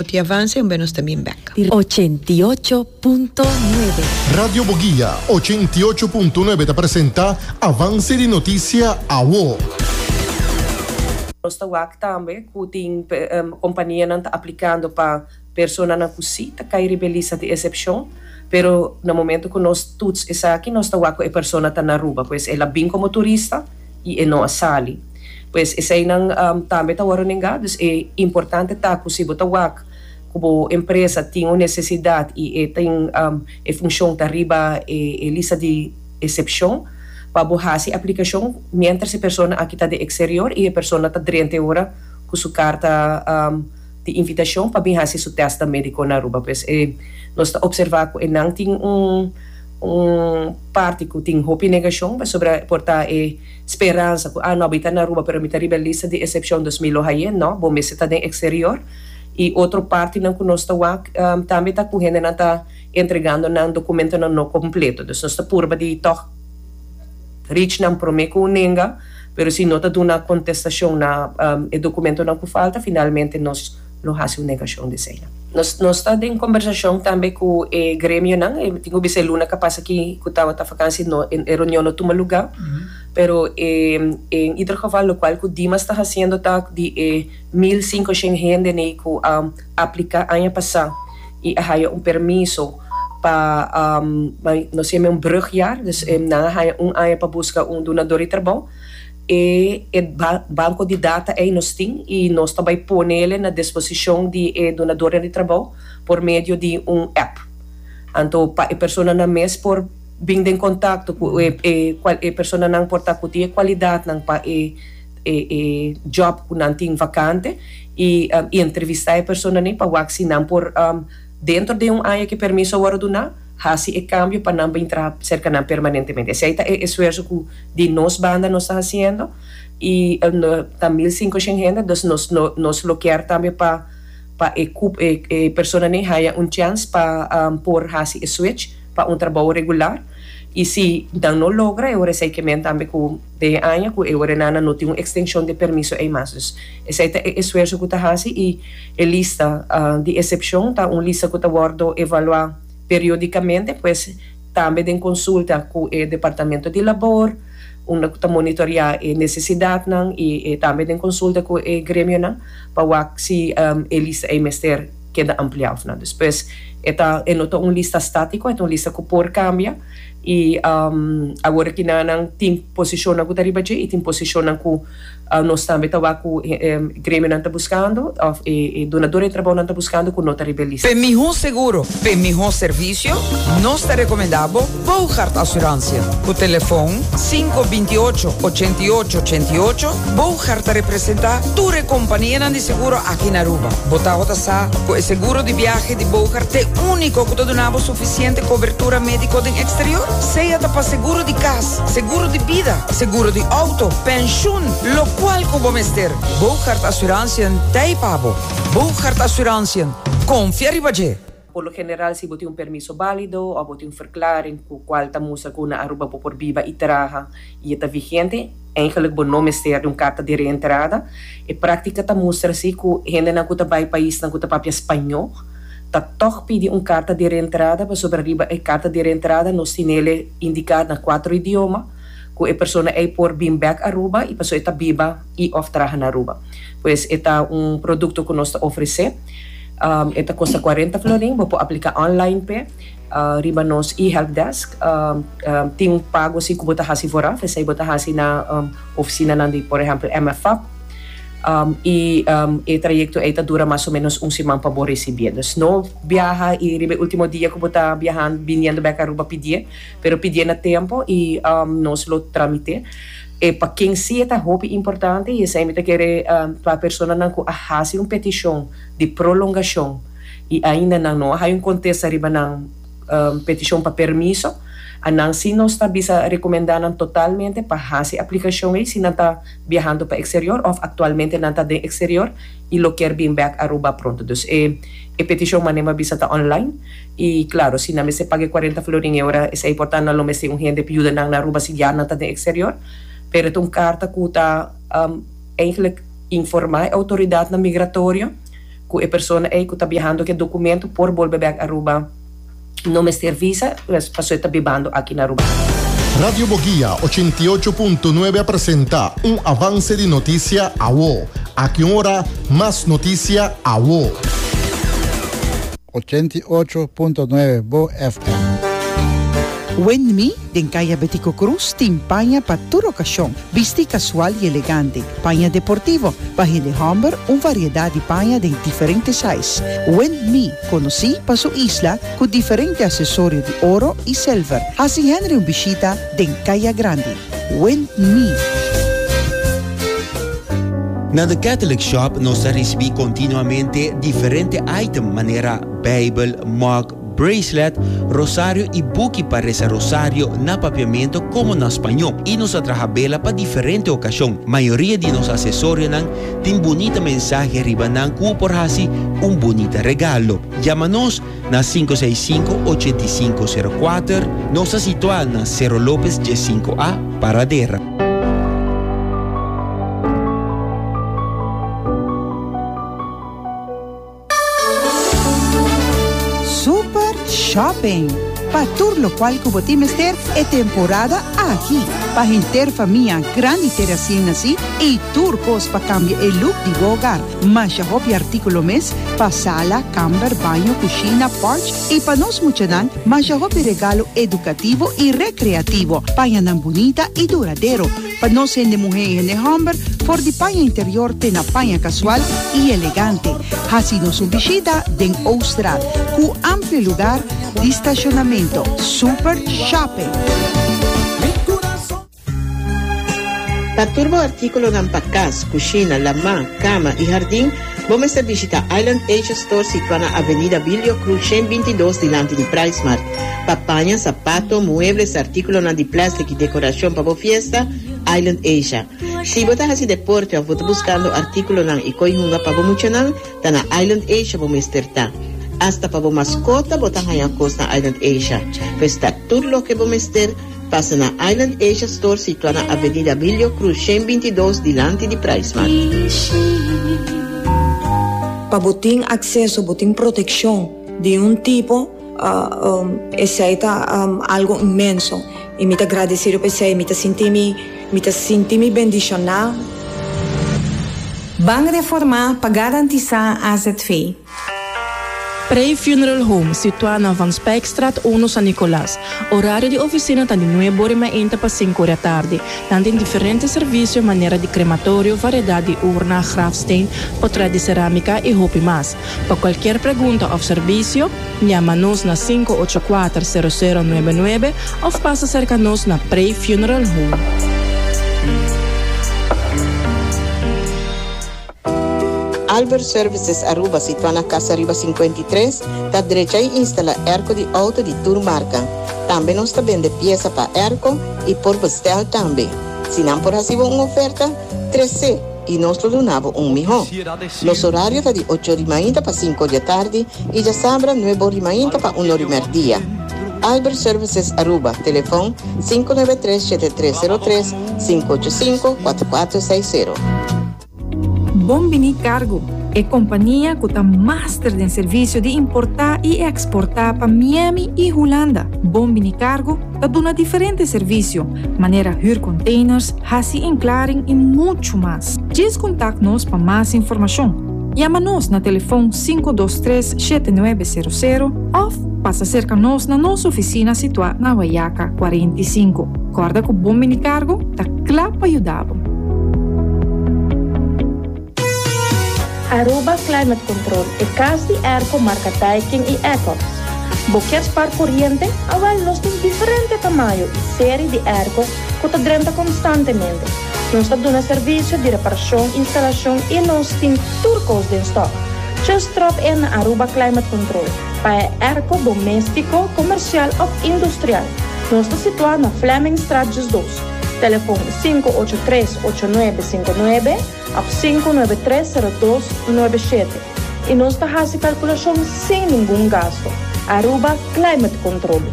Ti avance un be nos ta bin bek. 88.9. Radio Boguia 88.9 ta presenta Avance di Noticia Awo. Nos ta wak tambe ku tin kompanianan ta aplikando pa personanan ku si ta kai riba e lista di esepshon, pero na momento ku nos tuts esaki nos ta wak ku e persona ta na Aruba, pues el a bin komo turista i e no a sali. Pues eseinan tambe ta wòrdu nengá. Dus e importante ta ku si bo ta wak ku bo empresa tin un nesesidat i e tin e funshon ta riba e lista di esepshon pa bo hasi aplikashon miéntras e persona aki ta den eksterior i e persona ta drenta e ora ku su karta di invitashon pa bin hasi su tèstnan médiko na Aruba. Pues e nos ta opservá ku e nan tin un un parti ku tin hopi negashon pasobra por ta e Speransa ku, ah no, mi ta na Aruba pero mi ta riba e lista di esepshon dus mi lo haye. No, bo mester ta den eksterior. I otro partinan ku nos ta wak tambe ta ku hendenan ta entregando nan dokumentonan no kompleto. Dus nos ta purba di tòg reach nan promé ku un nenga, pero si no ta duna kontestashon na e dokumentonan ku falta, finalmente nos lo hasi un negashon di eseinan. Nos nos ta den kombersashon tambe ku e gremionan. E tin ku bisa e luna kapas aki ku tabata fakansi no e reunion no tuma lugá. Pero e en ieder geval lokual ku Dimas ta hasiendo ta di e 1500 hende nei ku a apliká aña pasá i a haya un permiso pa nos yama un brugjaar, dus nan a haya un aña pa buska un dunador di trabou. E e banco di data ei nos tin y nos ta bay ponele na disposicion di e dunadornan di trabou por medio di un app. Anto pa e personanan mes por bin den contacto cu e e e personanan por ta cu tin e cualidadnan pa e e e job cu nan tin vacante y entrevista e personanan pa wak si nan por dentro di un aña cu e permiso a worde duna haci e cambio pa nan bin traha cerca nan permanentemente. Esey ta e esfuerzo cu di nos banda nos ta haciendo y ta 1500 hende, dus nos no nos lo kier tambe pa pa e cup e e personanan haya un chance pa por haci e switch pa un trabou regular y si nan no logra e ora esey ke men tambe cu den e aña cu e ora nan no tin un extension di permiso ey mas. Dus esey ta e esfuerzo cu ta haci y e lista di excepcion ta un lista cu ta wordo evalua periodicamente, pues tambe den consulta cu e Departamento di Labor, unda cu ta monitorea e necesidadnan y tambe den consulta cu e gremionan pa wak si e lista ey mester keda amplia of no. Dus pues e ta e no ta un lista statico, e ta un lista cu por cambia y awor aki nan tin posicionnan cu ta riba dje y tin posicionnan cu Nos tambe ta wak ku e gremionan ta buskando òf e dunador di trabounan ta buskando ku no ta riba e lista. P'e mihó seguro, p'e mihó servisio, nos ta rekomendá bo Bougaard Assurantie. Ku telefon sinku 28 88 88, Bougaard ta representá tur e kompanianan di seguro aki na Aruba. Bo tabata sa ku e seguro di biahe di Bougaard t'e úniko ku ta duna bo sufisiente kobertura médiko den eksterior? Sea ta pa seguro di kas, Seguro di bida, seguro di auto, pensioen, locual cu bo mester, Boogaard Assurantiën t'ei pa bo. Boogaard Assurantiën, confia riba dje! Por lo general si bo tin un permiso balido of bo tin un verklaring cu cual ta mustra cu na Aruba bo por biba y traha y e ta vigente, eigenlijk bo no mester di un carta di reentrada. E practica ta mustra si cu hendenan cu ta bay paisnan cu ta papia spañó ta toch pidi un carta di reentrada pasobra riba e carta di reentrada nos tinele indiká na kuatro idioma ku e persona ei por bin bèk Aruba i pasobra e ta biba i òf traha na Aruba. Pues e ta un produkto ku nos ta ofresé. E ta kosta kuarenta florin, bo por apliká online p'e riba nos e-helpdesk. Tin un pago si ku bo ta hasi vooraf, esei bo ta hasi na ofisinanan di por ehèmpel MFAP. I e trayekto ei ta dura mas o ménos un siman pa bo risibié. Dus no biaha i riba e último dia ku bo ta biahando, biniendo bèk Aruba pidié, pero pidié na tempu i nos lo tramité. E pa ken sí e ta hopi importante i esei mi ta kere pa personanan ku a hasi un petishon di prolongashon i ainda nan no a haña un kontesta riba nan petishon pa permiso, a nan sí nos ta bisa rekomendá nan totalmente pa hasi aplikashon ei si nan ta biahando pa exterior of actualmente nan ta den exterior y lo kier bin bek Aruba pronto. Dus e e peticion mane mi a bisa ta online y claro si nan mester paga e cuarenta florin e ora esey por ta nan lo mester un hende pa yuda nan na Aruba si ya nan ta den exterior pero e ta un carta cu ta eigenlijk informa e autoridadnan migratorio. ku e persona ei ku ta biahando ku e dokumento por bolbe bèk Aruba no mester visa pasobra e ta bibando aki na Aruba. Radio Boguia 88.9 a presenta un avance di noticia awo. Aki un ora mas noticia awo. 88.9 Bo FM. Windme den Kaya Betico Cruz tin paña pa tur okashon, bisti kasual i elegante, paña deportivo, pa hende hòmber un variedat di paña den diferente size. Windme konosí pa su isla ku diferente asesorio di oro i silver. Hasi Henry un bishita den Kaya Grandi. Windme. Na The Catholic Shop nos ta risibí kontinuamente diferente item manera Bijbel, mug, bracelet, rosario i buki pa resa rosario na papiamento komo na spañó. I nos ta traha bela pa diferente okashon. Mayoria di nos asesorionan tin bunita mensahe riba nan ku bo por hasi un bunita regalo. Yama nos na 565 8504. Nos ta situá na Cerro Lopez 15 A, Paradera. Super Shopping! Pa tur locual cu bo tin mester e temporada aki. Pa henter famia, grandi te recién naci y tur cos pa cambia e look di bo hogar. Masha hopi articulo mes pa sala, camber, baño, cushina, porch y pa nos muchanan masha hopi regalo educativo y recreativo. Pañanan bunita y duradero. Pa nos hende muhé i hende hòmber, for di paña interior te na paña kasual i elegante. Hasi nos un bishita den Ooststraat, ku amplio lugar di stashonamentu. Super Shopping! Pa tur bo artíkulonan pa kas, kushina, lamá, kama i hardin, bo mester bishita Island Asia Store situá na Avenida Bilio Cruz 122 dilanti di PriceMart. Pa paña, sapato, muebles, artíkulonan di plèstik i dekorashon pa bo fiesta, Island Asia. Si bo ta hasi deporte òf bo ta buskando artíkulonan i koi hunga pa bo muchanan, ta na Island Asia bo mester ta. Asta pa bo maskota bo ta haña kos na Island Asia. Pues ta tur loke bo mester, pasa na Island Asia Store situá na Avenida Bilio Cruz 122 dilanti di PriceMart. Pa bo tin akseso, bo tin protekshon di un tipo. Esei ta algo inmenso y mi ta gradecido pa esei. Mi ta sinti mi, mi ta sinti mi bendiciona. Ban reformá pa garantisá azv. Prey Funeral Home, situá na Van Spijkstraat uno San Nicolas. Orario di oficina ta di nuebe ora mainta pa sinku ora tardi. Nan tin diferente servicio manera di crematorio, variedad di urna, grafsteen, potret di ceramica y hopi mas. Pa cualkier pregunta of servicio, yama nos na 584 0099 of pasa cerca nos na Prey Funeral Home. Albert Services Aruba situa na Casa Riba 53 ta drecha y instala airco di auto di tur marca. Tambe nos ta bende pieza pa airco y por bestel tambe. Si nan por haci bo un oferta, trece y nos lo duna bo un miho. Nos horario ta di ocho ori mainta pa cinco ori atardi y djasabra nuebe ori mainta pa un ori merdia. Albert Services Aruba, telefon 593 7303 585 4460. Bon Bini Cargo, e kompania ku ta master den servisio di importá i eksportá pa Miami i Hulanda. Bon Bini Cargo ta duna diferente servisio, manera hür containers, hasi inklaring i muchu mas. Djis kontakt nos pa mas informashon. Yama nos na telefon 523 7900 òf pasa serka nos na nos ofisina situá na Wayaca 45. Kòrda ku Bon Bini Cargo ta kla pa yuda bo. Aruba Climate Control, e cas di airco marca Daikin y Ecox. Bo kier spar coriente? Awel nos tin diferente tamayo y serie di airco cu ta drenta constantemente. Nos ta duna servicio di reparacion, instalacion y nos tin tur cos den stock. Just drop in na Aruba Climate Control pa e airco domestico, comercial of industrial. Nos ta situa na Flemingstraat 12. Telefon 583 8959 òf 593 0297 i nos ta hasi kalkulashon sin ningun gasto. Aruba Climate Control.